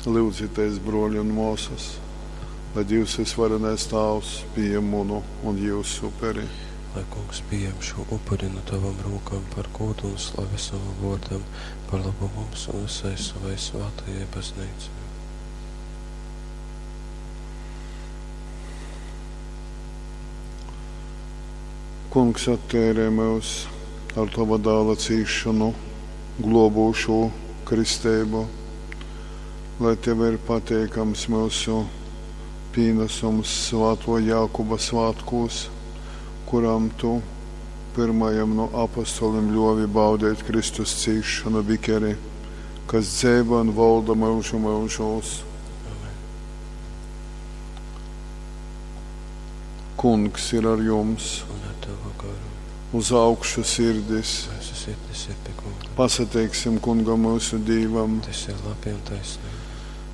Lyudzitēs, brōli un mōsas, lai Dīvs vysvarenais Tāvs pījem munu un jyusu uperi. Lai Kungs pījem šū upuri nu tovom rūkom par gūdu un slavi sovam vōrdam, par lobu mums un vysai sovai svātajai Bazneicai. Kungs atteirej myus ar tova dāla cīsšonu glōbūšū kristeibu, lai tev ir pateikams myusu pīnasums svātō Jākuba svātkūs, kuram tu pyrmajam nu apostolim ļōvi baudeit Kristus cīsšonu bikeri, kas dzeivo un volda myužu myužūs. Amen. Kungs ir ar jums, Un ar tavu garu. uz augšu sirdis. Mūsu sirdis ir pie Kunga. Pasateiksim Kungam mūsu Dīvam. Tas ir labi un taisnīgi.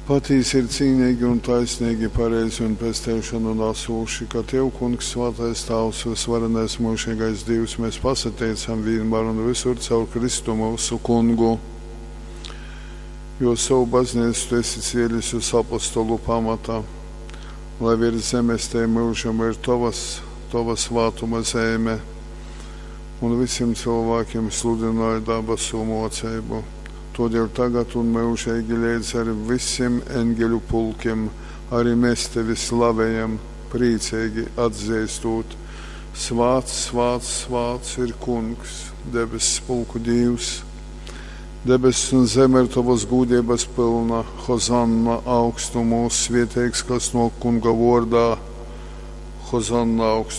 Patīsi ir cīnīgi un taisnīgi, pareizi un pesteišanu nesūši, ka Tev, Kungs, svētais Tāvs, visvarenais mūžīgais Dievs, mēs pasateicam vienmēr un visur caur Kristu mūsu Kungu. Jo savu baznīcu Tu esi cielis uz apostolu pamata, lai virs zemes te mūžam ir Tavas, Tava svātuma zeme, un visiem cilvēkiem sludināja dabasu mocību. Todēļ tagad un mūžīgi līdz ar visiem eņģeļu pulkiem arī mēs tevi slavējam, priecīgi atzīstot. Svāts, svāts, svāts ir Kungs, debesu pulku Dievs. Debesis un zeme ir tavas gūdības pilna. Hozanna augstumos, svētīgs, kas no Kunga vārdā. Hozanna augstumos.